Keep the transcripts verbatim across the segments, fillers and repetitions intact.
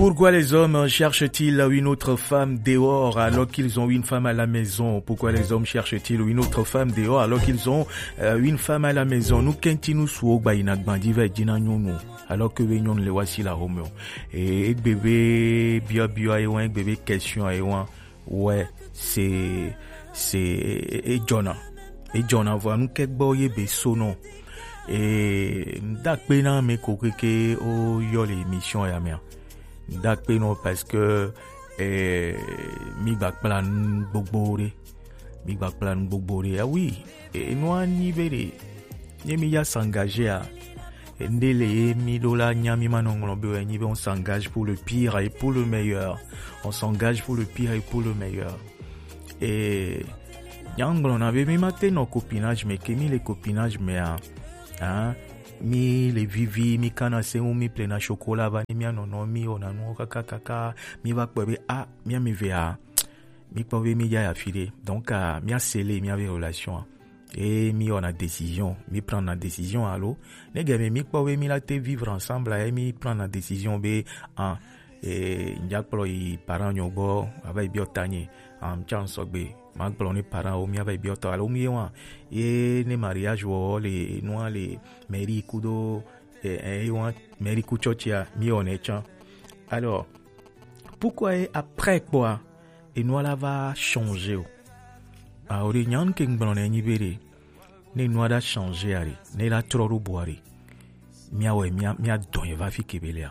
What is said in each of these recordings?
Pourquoi les hommes cherchent-ils une autre femme dehors alors qu'ils ont une femme à la maison? Pourquoi les hommes cherchent-ils une autre femme dehors alors qu'ils ont euh, une femme à la maison? Nous kenti nous suo gba ina gbandi ve dina nyonu alors que ve nyonu le wasi la home. Et bébé bia bia et ouais bébé question et ouais ouais c'est c'est et Jonah et Jonah voilà nous kek boye be sono. Et dakpe na me kokeke o yo l'émission ya mea. Dakpe no parce que eh, mi gba kpla nu gbogbo ɖe. Mi gba kpla nu gbogbo ɖe. Ah oui, e nua nyi be ɖe. Nye mi ya s'engager a. Nde le ye mi ɖo la nya mi ma nɔ ŋlɔ be wɛ nyi be on s'engage pour le pire et pour le meilleur. On s'engage pour le pire et pour le meilleur. Et nya ŋgblɔ na be mi ma te nɔ copinage me ke mi le copinage me a. Hein? Mi le vivi mi kana se ŋu mi plena chocolat va ni mi anɔnɔ mi wɔna nuwo kaka kaka mi va kpɔe be a mi ame ve a mi kpɔ be mi ya ya fi ɖe donc a mi asele mi ave relation a. Et mi wɔna décision mi prendre décision alo ne gɛmɛ mi kpɔ be mi la te vivre ensemble a mi prendre décision be a e ŋdza kplɔ yi parent nyɔ gbɔ ava yi biɔ tanye am tsa ŋsɔgbe ma gblɔ ne parent wo mi ava yi biɔ tɔ alo mi ye wa ye ne mariage wɔ le nua le mairie kudo e e wa mairie ku tsɔtsia mi wɔnɛ tsã. Alors pourquoi ye après kpɔa enua la va changer o? Awo ɖe nyan ke ŋgblɔ ne nyi be ɖe ne enua la changer a ɖe ne la trɔ ɖo bua ɖe miawɛ mia mia dɔn ye va fi ke be lea.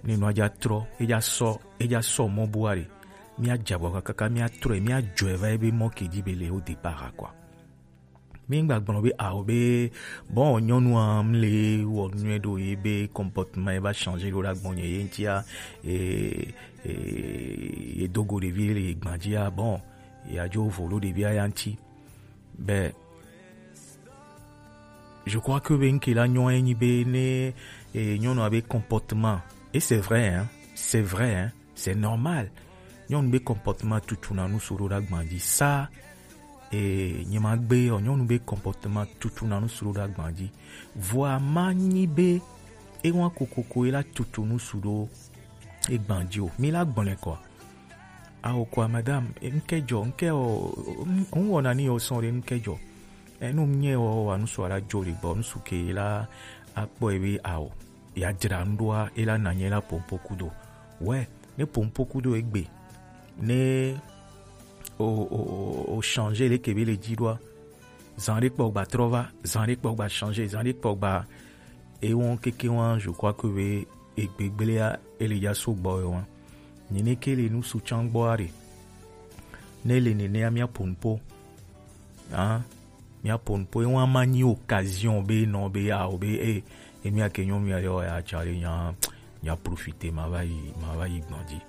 Ne enua dza trɔ edza sɔ edza sɔ mɔ bua ɖe mia dza bɔ kakaka mia trɔ ye mia dzɔ ye va ye be mɔ ke dzi be le o départ quoi. Mi ŋgba gblɔ be awo be bon nyɔnua mle wɔ nyuie ɖo ye be comportement ye va changer ɖo ɖa gbɔnye ye ŋtia e e ye dogo ɖevi le gbadzia bon ye adzo vo ɖo ɖevia ya ŋti be je crois que be ŋke la nyɔ enyi be ne e nyɔnua be comportement et c'est vrai hein c'est vrai hein c'est normal. Nyɔnu be comportement tutuna nu su ɖo ɖa gbadzi sa e nye ma gbe yɔ nyɔnu be comportement tutuna nu su ɖo ɖa gbadzi. Vɔa ma nyi be ewa kokoko e la tutu nu su ɖo e gbadzi o mi la gbɔnɛ kɔ. Awo kɔ madame ŋkɛ jɔ ŋkɛ o ŋ wɔna ni o sɔn ɖe ŋkɛ jɔ. Enu nye o wa nu su ala jo le gbɔ nu su ke la akpɔ e be awo. Ya dzra nu ɖoa e la nanye la pompo kudo wɛ ne pompo kudo egbe ne o o o o changer le kebe le dzi ɖoa zan ɖe kpɔ gba trɔ va zan ɖe kpɔ gba changer zan ɖe kpɔ gba ewɔn keke wa je crois que be egbe gblea ele ya so gbɔ ye wa nyine ke le nu su tsan gbɔ are ne le nenea mia pompo ah mia pompo e wa ma nyi occasion be nɔ be ya o be e emi ake nyɔnu ya yɔ ya tsa le nya nya profiter ma va yi ma va yi gbɔn dzi.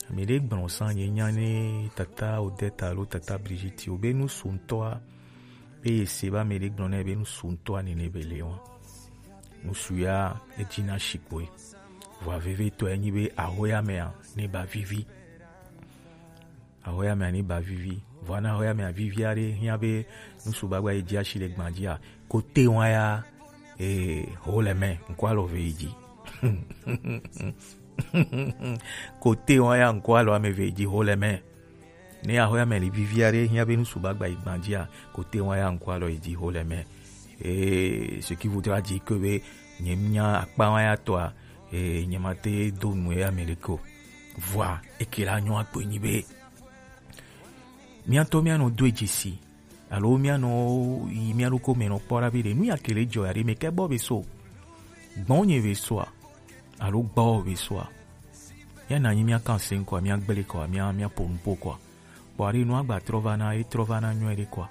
Ame ɖe gblɔ sa nye nya ne tata Odette alo tata Brigitte o be nu su ŋutɔa be ye se be ame ɖe gblɔ ne be nu su ŋutɔa nene be le wa nu su ya edzi na shikpoe. Vɔa vevitɔ enyi be ahoya mea ne ba vivi ahoya mea ne ba vivi vɔa na ahoya mea vivi aɖe hiã be nu su gbagba yi dzi asi le gbã dzia kote wa ya ee ho le mɛ ŋkɔ alɔ ve yi dzi kote wa ya ŋkɔ alɔ ame ve yi dzi ho le mɛ ne ahoya mea li vivi aɖe hiã be nu su gbagba yi gbã dzia kote wa ya ŋkɔ alɔ yi dzi ho le mɛ ee ce qui voudra dire que be nye nya akpa wa ya tɔa ee nye ma te do nu ya me ɖeke o vɔa eke la nyɔ akpɔe nyi be míatɔ míanɔ do dzesi alo míanɔ yi mía ɖokui me nɔ kpɔ ɖa be ɖe nu ya ke le dzɔ ya ɖe me ke gbɔ be so gbɔnye be soa alo gbɔ be soa ya na nyi mía kan se ŋkɔ mía gblẽ kɔ mía mía ƒo nu ƒo kɔ kpɔ aɖe nua gba trɔ va na e trɔ va na nyɔe ɖe kɔ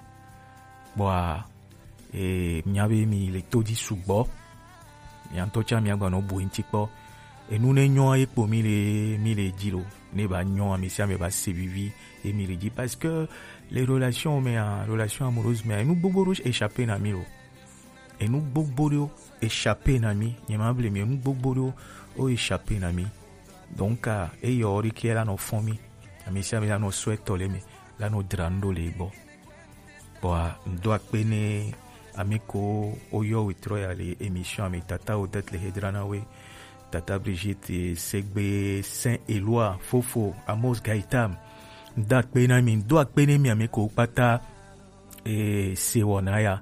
kpɔa e mía be mi le to dzi sugbɔ mía ŋutɔ tsã mía gba nɔ bu eŋuti kpɔ enu ne nyɔ ye kpo mi le mi le dzi lo ne ba nyɔ ame sia ame ba se vivi ye mi le dzi parce que les relations mea relation amoureuse mea enu gbogbo ɖo échappé na mi lo enu gbogbo ɖo échappé na mi nye ma ble mi enu gbogbo ɖo o échappé na mi donc eyɔ ɖi ke la nɔ fɔn mi ame sia ame la nɔ sɔ etɔ le me la nɔ dra nu ɖo le gbɔ Kpɔa ŋdo akpe ne ame ko woyɔ wetrɔ ya le émission ame tata wo det le hedra na we Tata Brigitte Segbe, Saint Eloi, Fofo, Amos Gaëtan. Ŋdo akpe na mi, ŋdo akpe na mi ame ko kpata e se wɔna ya.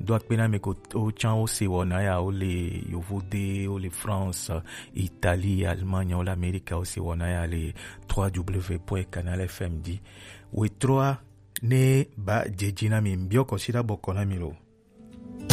Ŋdo akpe na ame ko o can o se wɔna ya, o le Yovode, o le France, Italie, Allemagne, o le Amerika, o se wɔna ya le trois w point canal F M dzi. Wetrɔ a ne ba jeji na mi, mbiɔ kɔsiɖa bɔkɔ na mi lo.